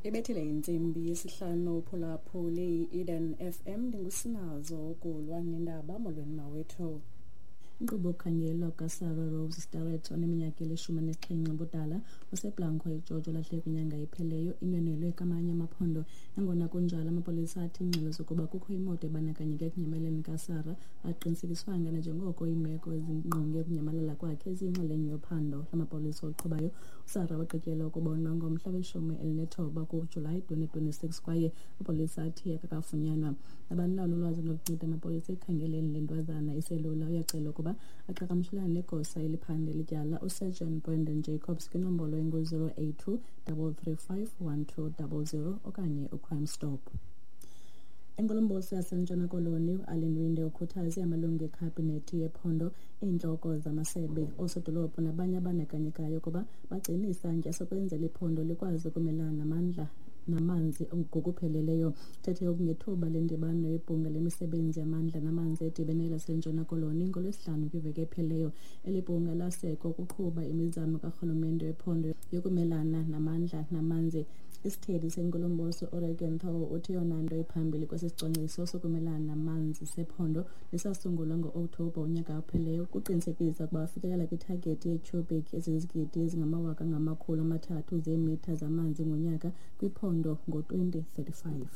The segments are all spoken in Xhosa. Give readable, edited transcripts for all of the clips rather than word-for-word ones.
Ibethile intsimbi yesihlanu uphulaphuli i-Eden FM. Ndingusinazo ukulwa nendaba. Molweni mawethu. Inkqubo yokukhangelwa kukaSarah Rose Starrett oneminyaka eli-17 ubudala useBlanco eGeorge olahleke kwinyanga epheleyo inwenwelwe kwamanye amaphondo. Nangona kunjalo, amapolisa athi iingxelo zokuba kukho imoto ebandakanyeke ekunyamaleni kaSarah aqinisekiswanga nanjengoko iimeko ezingqonge ukunyamalala kwakhe ziyinxalenye yophando lamapolisa oluqhubayo. USarah wagqityelwa ukubonwa ngomhla we-19 kuJulayi 2026 kwaye amapolisa athi akakafunyanwa. Nabani na onolwazi olunokunceda amapolisa ekukhangeleni le ntwazana iselula uyacelwa ukuba aqhagamshelane negosa eliphanda eli tyala uSergeant Brandon Jacobs kwinombolo engu-082 335 1200 okanye uCrime Stop. Inkulumbuso yaseNtshona Koloni uAllan Winde ukhuthaze amalungu ekhabhinethi yephondo, iintloko zamasebe, oosodolophu nabanye abandakanyekayo ukuba bagcine isantya sokwenzela iphondo likwazi ukumelana namandla namanzi ngokupheleleyo. Uthethe oku ngethuba lendibano yebhunga lemisebenzi yamandla namanzi edibene laseNtshona Koloni ngoLwesihlanu kwiveki ephelileyo. Eli bhunga lasekwa ukuqhuba imizamo karhulumente wephondo yokumelana namandla namanzi. Isithethi senkulumbuso uReagan Thaw uthi eyona nto iphambili kwesi sicwangciso sokumelana namanzi sephondo nesasungulwa ngo-Okthobha unyaka ophelileyo kuqinisekisa ukuba afikelela kwithagethi yeetyhubhiki ezizigidi ezingama-300,000 zeemitha zamanzi ngonyaka kwiphondo ngo-2035.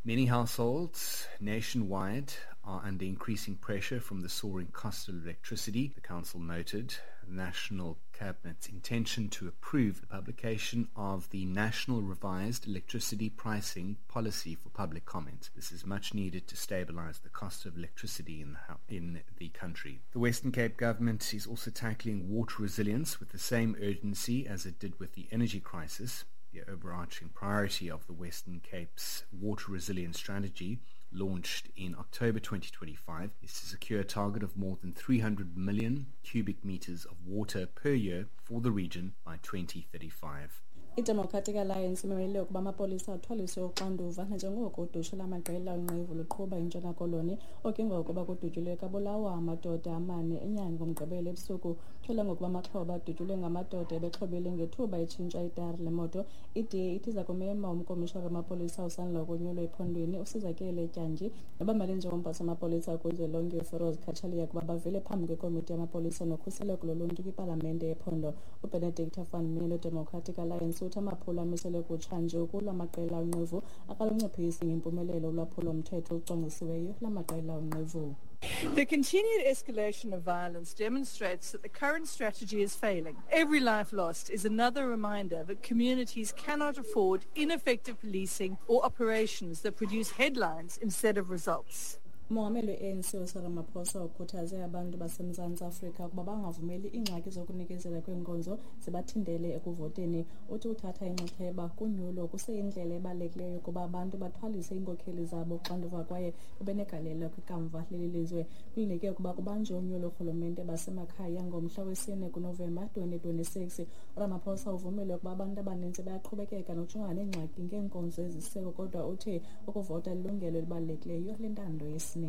Many households nationwide are under increasing pressure from the soaring cost of electricity, the council noted. The National Cabinet's intention to approve the publication of the National Revised Electricity Pricing Policy for public comment. This is much needed to stabilize the cost of electricity in the country. The Western Cape government is also tackling water resilience with the same urgency as it did with the energy crisis. The overarching priority of the Western Cape's water resilience strategy, launched in October 2025, is to secure a target of more than 300 million cubic meters of water per year for the region by 2035. IDemocratic Alliance imemelele ukuba amapolisa athwaliswe uxanduva nanjengoko udushe lamaqela onqevu luqhuba iNtshona Koloni. Oku ngokuba kudutyulwe kabulawa amadoda amane eNyanga ngoMgqibelo ebusuku. Kutyholwa ngokuba amaxhoba adutyulwe ngamadoda ebexhobile ngethuba etshintsha itayari lemoto. I-DA ithi iza kumema umkomishara wamapolisa osandula ukunyulwa ephondweni uSizakele Tyanji nobamele njengomphathi wamapolisa kuzwelonke uFiroz Cachalia ukuba bavele phambi kwekomiti yamapolisa nokhuseleko loluntu kwipalamente yephondo. UBenedicta van Meen weDemocratic Alliance uthi amaphulo amiselwe kutshanje ukulwa amaqela onqevu akalunciphisi ngempumelelo ulwaphulo-mthetho olucwangcisiweyo lamaqela onqevu. The continued escalation of violence demonstrates that the current strategy is failing. Every life lost is another reminder that communities cannot afford ineffective policing or operations that produce headlines instead of results. Umongameli we-ANC uCyril Ramaphosa ukhuthaze abantu baseMzantsi Afrika ukuba bangavumeli iingxaki zokunikezela kweenkonzo zibathintele ekuvoteni. Uthi uthatha inxaxheba kunyulo kuseyindlela ebalulekileyo yokuba abantu bathwalise iinkokheli zabo uxanduva kwaye babe negalelo kwikamva leli lizwe. Kulindeleke ukuba kubanjwe unyulo loorhulumente basemakhaya ngomhla wesi-4 kuNovemba 2026. URamaphosa uvumile ukuba abantu abaninzi bayaqhubekeka nokujongana neengxaki ngeenkonzo ezisiseko, kodwa uthi ukuvota lilungelo elibalulekileyo lentando yesininzi.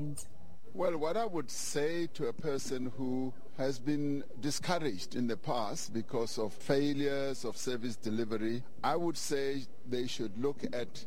Well, what I would say to a person who has been discouraged in the past because of failures of service delivery, I would say they should look at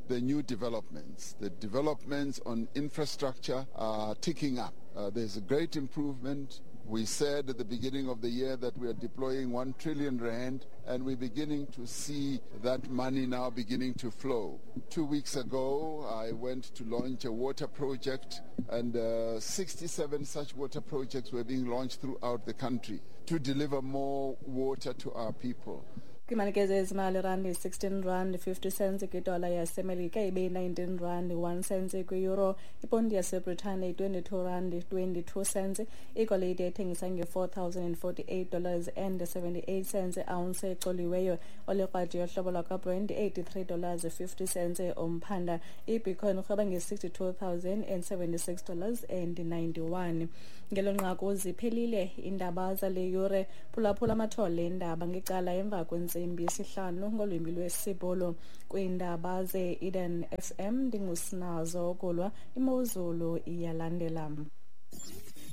the new developments. The developments on infrastructure are ticking up. There's a great improvement. We said at the beginning of the year that we are deploying 1 trillion rand, and we're beginning to see that money now beginning to flow. 2 weeks ago, I went to launch a water project, and 67 such water projects were being launched throughout the country to deliver more water to our people. Kwimalike zezimali, irandi 16 rand 50 cents kwidola yaseMelika, ibe yi-19 rand 1 cent kwi-euro, iponti yaseBritane yi-22 rand 22 cents, igolide ethengisa nge-$4,048 and 78 cents ounce ecoliweyo, olikrwadi yohlobo lwakwaBrent $83 50 cents umphanda, ibitcoin urhweba nge-$62,076 and 91. Ngelo nqaku ziphelile iindaba zale yure. Phulaphula amathole eendaba ngecala emva kwentsimbi yesihlanu ngolwimi lwesiBhulu. Kwiindaba ze-Eden FM ndingusinazo ukulwa imozulu iyalandela.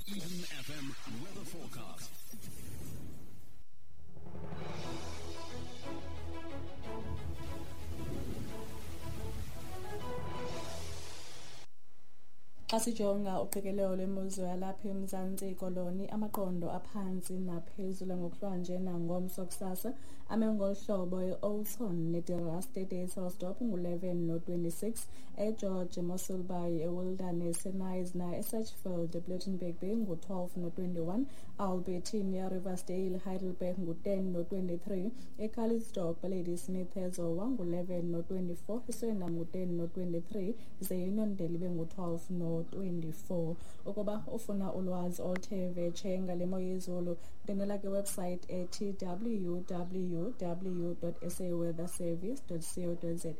Eden FM weather forecast. Xa sijonga uqikelelo lwemozulu yalapha eMzantsi Koloni, amaqondo aphantsi naphezulu ngokuhlwanje nangomso kusasa ame ngolu hlobo: e-Oudtshoorn neDe Rust eDysselsdorp ngu-11 no-26, eGeorge, eMossel Bay, eWilderness, eKnysna, eSedgefield, ePlettenberg Bay ngu-12 no-21, Albertina, Riversdale, Heidelberg ngu-10 no-23, eCalitzdorp, Ladysmith, eZowa ngu-11 no-24, eSwellendam ngu-10 no-23, ze iUniondale ibe ngu-12 no-24. Ukuba ufuna ulwazi oluthe vetshe ngale mo yezulu, ndwendwela kwiwebsite ethi www.saweatherservice.co.za.